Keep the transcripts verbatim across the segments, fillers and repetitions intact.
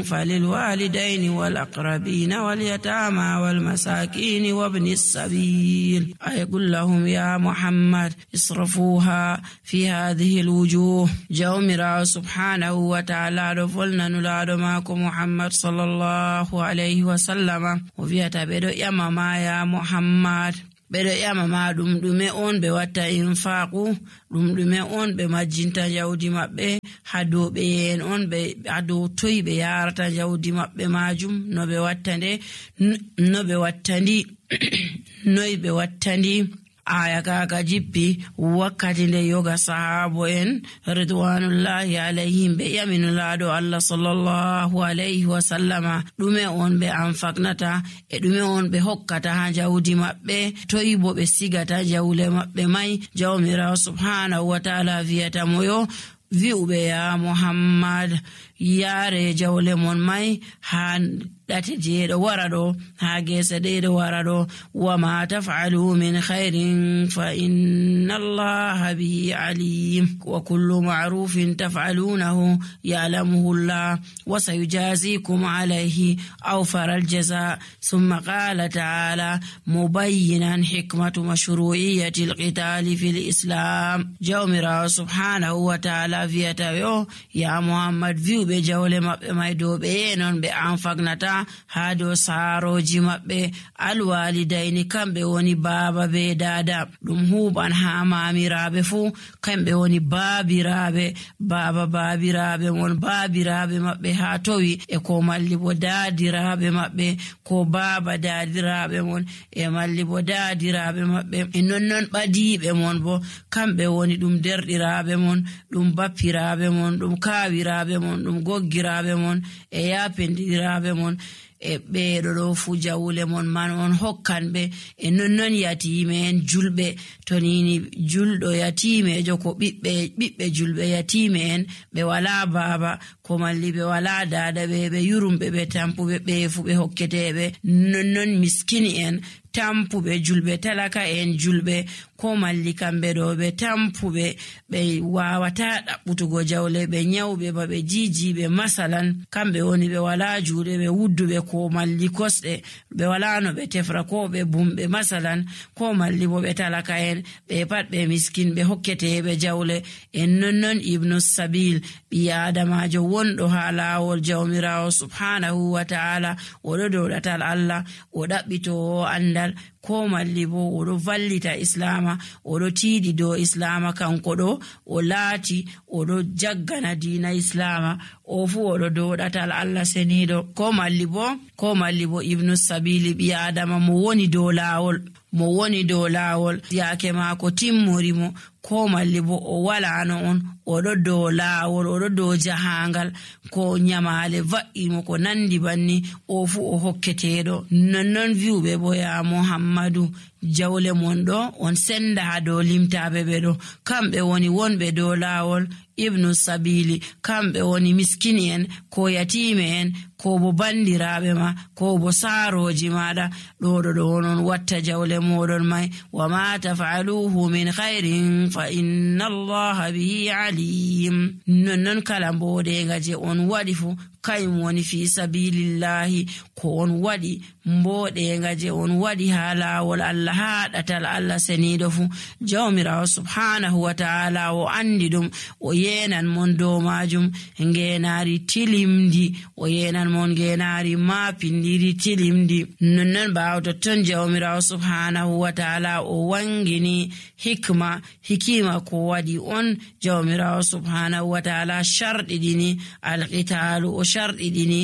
فللوالدين والأقربين واليتامى والمساكين وابن السبيل أي قل لهم يا محمد اصرفوها في هذه الوجوه جومرا سبحانه وتعالى رفلنا نلاد ماكو محمد صلى الله عليه وسلم وفي تبدو يا ماما يا محمد bedo yama ma dum dume on be watta infaqu dum dume on be majjinta jawdi mabbe hado be en on be hado toy be yarata jawdi mabbe majum no be wattande no be wattandi noy be wattandi aya kaga jippi wakkati nde yoga sahabo en ridwanullahi alayhim be yaminu laado Allah sallallahu alayhi wa sallama dume on be anfaknata e dume on be hokkata ha jawdi mabbe toyi bo be sigata jawle mabbe mai jawmira subhanahu wa ta'ala viyata moyo vi'ube ya Muhammad yare jawle mon mai han date jeedo warado ha gese deedo warado wa ma taf'alu min khairin fa inna Allaha bihi alim wa kullu ma'rufin taf'alunahu ya'lamuhu Allah wa sayujazikum alayhi awfar al-jazaa thumma qala ta'ala mubayyinan hikmatu mashru'iyyati al-qitali fil islam jawmira subhanahu wa ta'ala viyata yo ya Muhammad viube jawle mabbe mai do be non be anfagnata hado saroji mabbe alwalidaini kambe woni baba be dada dum huban ha mamirabe fu kambe woni babirabe baba babirabe mon babirabe mabbe ha towi e ko malli bo dadirabe mabbe ko baba dadirabe mon e malli bo dadirabe mabbe e non non badibe mon bo kambe woni dum derdirabe mon dum bappirabe mon dum kawirabe mon dum goggirabe mon e yapendirabe mon e beedo do fu jawle mon man on hokkan be e non non yatime en julbe tonini juldo yatime jo ko bibbe bibbe julbe yatime en be wala baba ko malli be wala dada be be yurumbe be tampube be fu be hokketebe non non miskini en tampube julbe talaka en julbe ko malli kambe do be tampube be wawata dabbutugo jawle be nyawbe ba be jijibe masalan kambe woni be wala juude be wuddube ko malli kosde be wala no be tefra ko be bumbe masalan ko malli bo be talaka en be pat be miskin be hokkete be jawle en nonnon ibnu sabil bi adamajo wondo ha lawol jawmirawo subhanahu wa ta'ala o do do datal Allah o dabbito anda ko malli bo o do vallita islama o do tiidi do islama kanko do o laati o do jaggana diina islama o fu o do do datal Allah senido ko malli bo ko malli bo ibnu sabili bi adama mo woni do lawol mo woni do lawol yaake mako timmori mo ko malli bo o wala no on o do do lawol o do do jahangal ko nyamale va'i mo ko nandi banni o fu o hokketedo nonnon viube bo ya Muhammadu jawle mon do on senda ha do limtabe be do kambe woni wonbe do lawol ibnu sabili kambe woni miskini en ko yatime en ko bo bandirabe ma ko bo saroji mada do do do non watta jawle modon mai wa ma taf'aluhu min khairin fa inna Allaha bihi alim non kala mbode ngaje on wadi fu kayum woni fi sabilillahi ko on wadi mbode ngaje on wadi hala wal Allah hadatal Allah senido fu jawmira subhanahu wa ta'ala o andidum o yenan mon do majum ngenari tilimdi o yenan mon ngenari mapindiri tilimdi nonnon baawto ton jawmira subhanahu wa ta'ala o wangini hikma hikima ko wadi on jawmira subhanahu wa ta'ala shardi dini alqitalu o shardi dini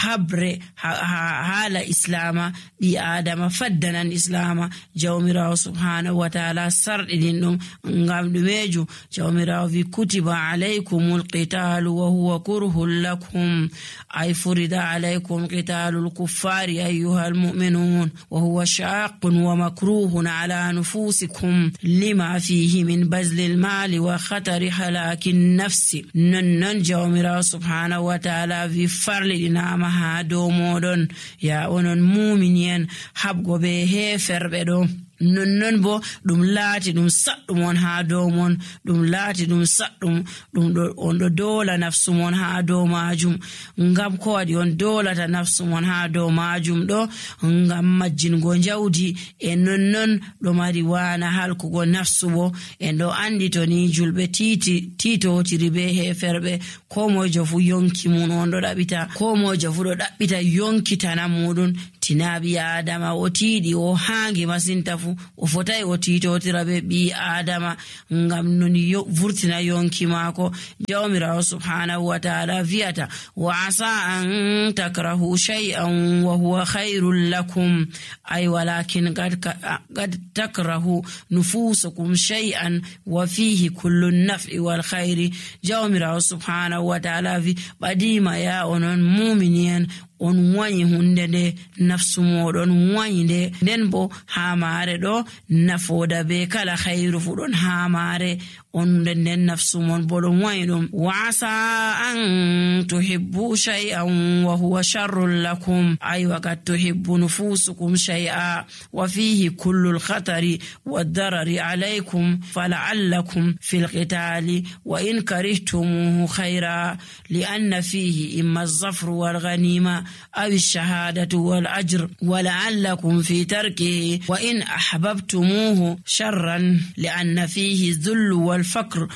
habre hala islama bi adama faddanan islama jawmirawo subhanahu wa ta'ala sardidin dum ngam dumeju jawmirawo vi kutiba alaykumul qitalu wa huwa kurhul lakum ay furida alaykum qitalul kuffari ayyuhal mu'minun wa huwa shaqqun wa makruhun ala nufusikum lima fihi min bazlil mali wa khatari halakin nafsi nan jawmirawo subhanahu wa ta'ala vi farli dinama ha do modon ya onon mu'minin habgo be heferbe do nonnon bo ɗum laati ɗum saɗɗum on haa dow mon, ɗum laati ɗum saɗɗum ɗum ɗo on ɗo doola nafsu mon haa dow maajum. Ngam ko waɗi on doolata nafsu mon haa dow maajum ɗo? Ngam majjingo jawdi, e nonnon ɗo mari waana halkugo nafsu bo. En ɗo andi to ni julɓe tiiti tiitotiri be heferɓe, ko mojo fu yonki mun on ɗo ɗaɓita, ko mojo fu ɗo ɗaɓɓita yonkitana muɗum. Tina ɓi adama o tiiɗi o haangi masinta fu o fotai o tiitotira be ɓi adama ngam non vurtina yonki maako. Jawmirawo subhanahu wa ta'ala viyata wa asa an takrahu shay'an wa huwa khairul lakum, ay walakin qad takrahu nufusukum shay'an wa fihi kullu naf'i wal khairi. Jawmirawo subhanahu wa ta'ala vi ɓadima ya onon muminiyan on wanyi hunde nde nafsu moɗon wanyi nde, nden bo haa maare ɗo nafoda be kala khairu fu ɗon haa maare on nden nden nafsu mon bo ɗon wanyi ɗum. Wa asa an tuhibbu shay'an wa huwa sharrun lakum, ay wa qad tuhibbu nufusukum shay'a wa fihi kullu al-khatari wad-darari alaykum fala'allakum fil qitali wa in karihtumuhu khayra li'anna fihi imma az-zafru wal ghanima aw ash-shahadatu wal ajr wa la'allakum fi tarkihi wa in ahbabtumuhu sharran li'anna fihi dhullu wal الفقر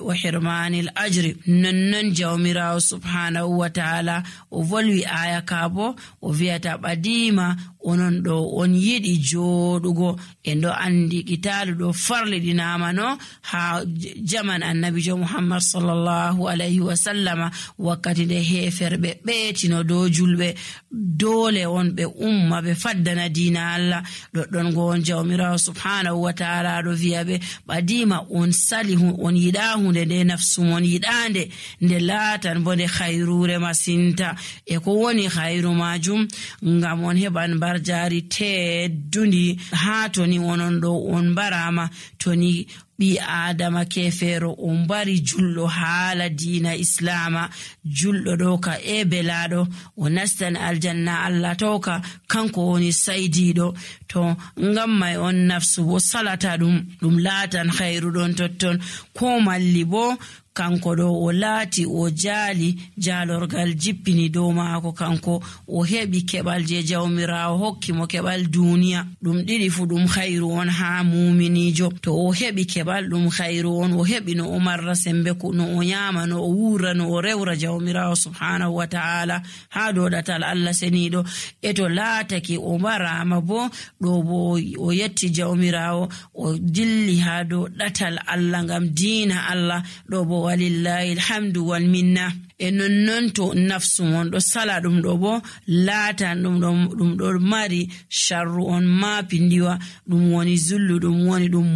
وحرمان الأجر. ننن جوميراو سبحانه وتعالى وفولوي آية كابو وفيتا بديما onon ɗo on yiɗi jooɗugo en ɗo andi kitalu ɗo farli ɗinamano ha jaman annabijo Muhammad sallallahu alayhi wa sallama, wakkati nde heferɓe ɓeetino dow julɓe dole on ɓe umma ɓe faddana diina Allah. ɗoɗɗon go on jawmirawo subhanahu wa ta'ala ɗo wiya ɓe ɓadima on sali on yiɗa hunde nde nafsu mon yiɗande nde laatan bo nde hayrure masinta, e ko woni hayru majum ngam on heɓan jari teddundi haa toni onon ɗo on barama, toni ɓi adama kefero on bari julɗo haala diina islama, julɗo ɗo ka e belaɗo o nastan aljanna Allah toka kanko woni saydiɗo. To ngam mai on nafsu bo salata ɗum ɗum laatan khairu ɗon totton, ko malli bo kanko ɗo o laati o jaali jaalorgal jippini dow maako, kanko o heɓi keɓal je jawmirawo hokki mo keɓal duniya. ɗum ɗiɗi fu ɗum khairu on haa muminijo. To o heɓi keɓal ɗum khairu on, o heɓi no o marra sembe no o nyama, no o wura, no o rewra jawmirawo subhanahu wa ta'ala haa dow ɗatal Allah seniɗo. e to laatake o marama bo ɗo bo o yetti jawmirawo o dilli haa dow ɗatal Allah ngam diina Allah ɗo bo walillahi alhamdu wal minna. e nonnon to nafsu mon ɗo sala ɗum ɗo bo laatan ɗum ɗo ɗum ɗo mari sharru on mapindiwa, ɗum woni zullu, ɗum woni ɗum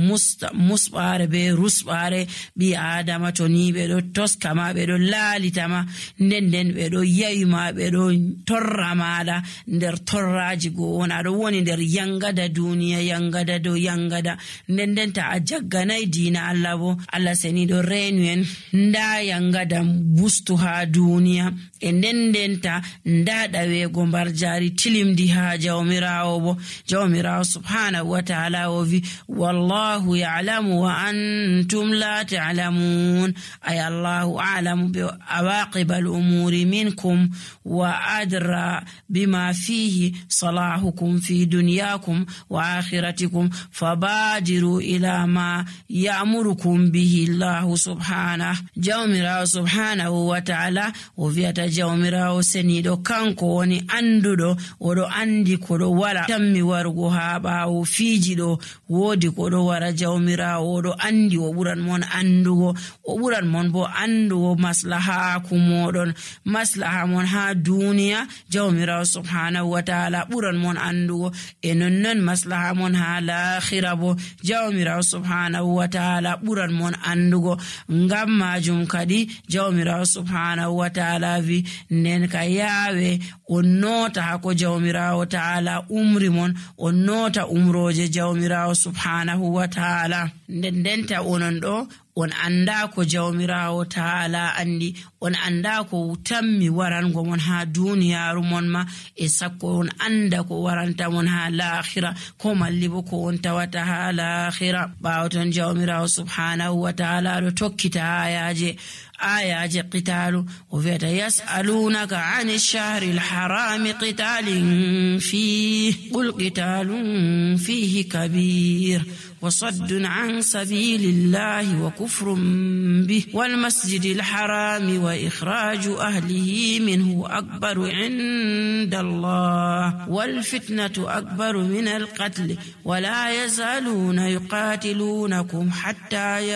musɓare be rusɓare. ɓi adama to ni ɓe ɗo toskama, ɓe ɗo laalitama, nden nden ɓe ɗo yayima, ɓe ɗo torra maɗa nder torraji go on, aɗo woni nder yangada duniya, yangada dow yangada, nden nden ta a jagganayi diina Allah bo Allah seni ɗo reenu en nda yangada bustu ha duniya, e ndendenta nda ɗawego mbar jari tilimdi ha jawmirawo bo. Jawmirawo subhanahu wa ta'ala o vi wallahu ya'lamu wa antum la ta'lamun, ay Allahu a'lamu bi awaqib al-umuri minkum wa adra bima fihi salahukum fi dunyakum wa akhiratikum fabadiru ila ma ya'murukum bihi Allah subhanahu. Jawmirawo subhanahu wa ta'ala o viata jawmirawo seniɗo kanko woni anduɗo, oɗo andi koɗo wara tammi warugo ha ɓawo fiiji ɗo, woodi koɗo wara jawmirawo oɗo andi o ɓuran mon andugo, o ɓuran mon bo andugo maslahaku moɗon, maslaha mon ha duniya jawmirawo subhanahu wa ta'ala ɓuran mon andugo, e nonnon maslaha mon ha lahira bo jawmirawo subhanahu wa ta'ala ɓuran mon andugo. ngam majum kadi jawmirawo subhanahu wa ta'ala vi nden ka yaawe on nota hako jawmirawo ta'ala umri mon, on nota umroje jawmirawo subhanahu wa ta'ala. nden ndenta onon ɗo on anda ko jawmirawo ta'ala andi, on anda ko tammi warango mon ha duniyaru mon ma e sakko on anda ko waranta mon ha l'akhira ko mallibo ko on tawata ha l'akhira. Bawton jawmirawo subhanahu wa ta'ala do tokkita ayaje ayaje qitalu o viata yas'alunaka 'ani ash-shahri al-harami qitalin fihi qul qitalun fihi kabir وصد عن سبيل الله وكفر به والمسجد الحرام وإخراج أهله منه أكبر عند الله والفتنة أكبر من القتل ولا يزالون يقاتلونكم حتى